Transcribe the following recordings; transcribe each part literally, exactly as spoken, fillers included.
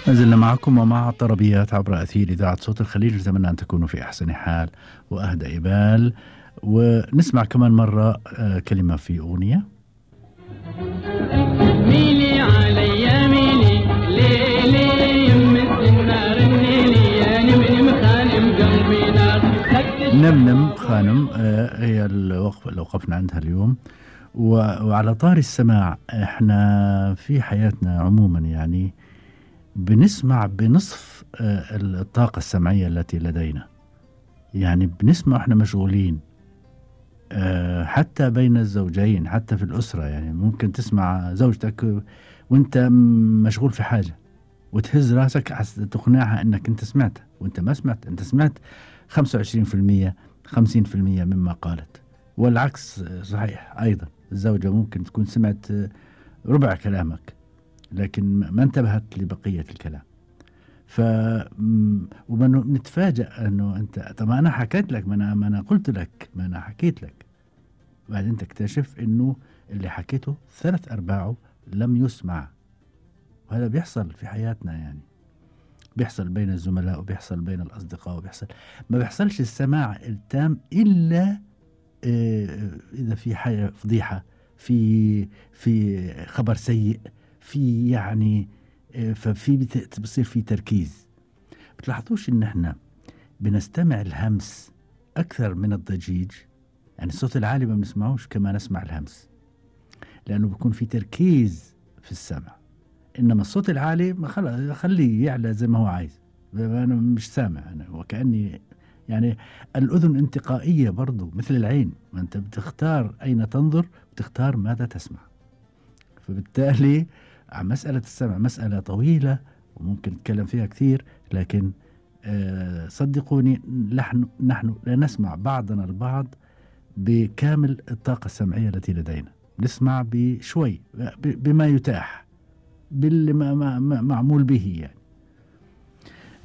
ما زلنا معكم ومع طربيات عبر أثير إذاعة صوت الخليج. نتمنى أن تكونوا في أحسن حال وأهدى إبال، ونسمع كمان مرة كلمة في أغنية. ميلي علي ميلي ليلي يم النار النيلي يا نمنم خانم قلبي نار. نمنم خانم هي الوقفة اللي وقفنا عندها اليوم. وعلى طار السماع، احنا في حياتنا عموما يعني بنسمع بنصف الطاقة السمعية التي لدينا، يعني بنسمع احنا مشغولين، حتى بين الزوجين، حتى في الأسرة. يعني ممكن تسمع زوجتك وانت مشغول في حاجة وتهز راسك تقنعها انك انت سمعت وانت ما سمعت. انت سمعت خمسة وعشرين بالمية خمسين بالمية مما قالت، والعكس صحيح أيضا. الزوجة ممكن تكون سمعت ربع كلامك لكن ما انتبهت لبقية الكلام. ف ونتفاجأ انه انت طب انا حكيت لك، ما انا ما انا قلت لك، ما انا حكيت لك. بعدين تكتشف انه اللي حكيته ثلاث ارباعه لم يسمع. وهذا بيحصل في حياتنا، يعني بيحصل بين الزملاء وبيحصل بين الاصدقاء وبيحصل. ما بيحصلش السماع التام الا اذا في حاجة فضيحة، في في خبر سيء، في يعني ففي بتصير في تركيز. بتلاحظوش ان احنا بنستمع الهمس اكثر من الضجيج؟ يعني الصوت العالي ما بنسمعوش كما نسمع الهمس، لانه بيكون في تركيز في السمع. انما الصوت العالي ما خليه يعلى زي ما هو عايز، انا مش سامع انا، وكأني يعني الاذن انتقائية برضو مثل العين، ما انت بتختار اين تنظر، بتختار ماذا تسمع. فبالتالي مسألة السمع مسألة طويلة وممكن نتكلم فيها كثير، لكن آه صدقوني نحن نحن لا نسمع بعضنا البعض بكامل الطاقة السمعية التي لدينا. نسمع بشوي بما يتاح، باللي ما ما ما معمول به يعني.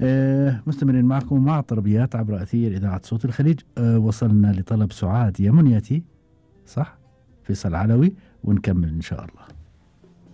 آه مستمرين معكم مع طربيات عبر أثير إذاعة صوت الخليج. آه وصلنا لطلب سعاد يا منيتي، صح؟ فيصل علوي، ونكمل إن شاء الله.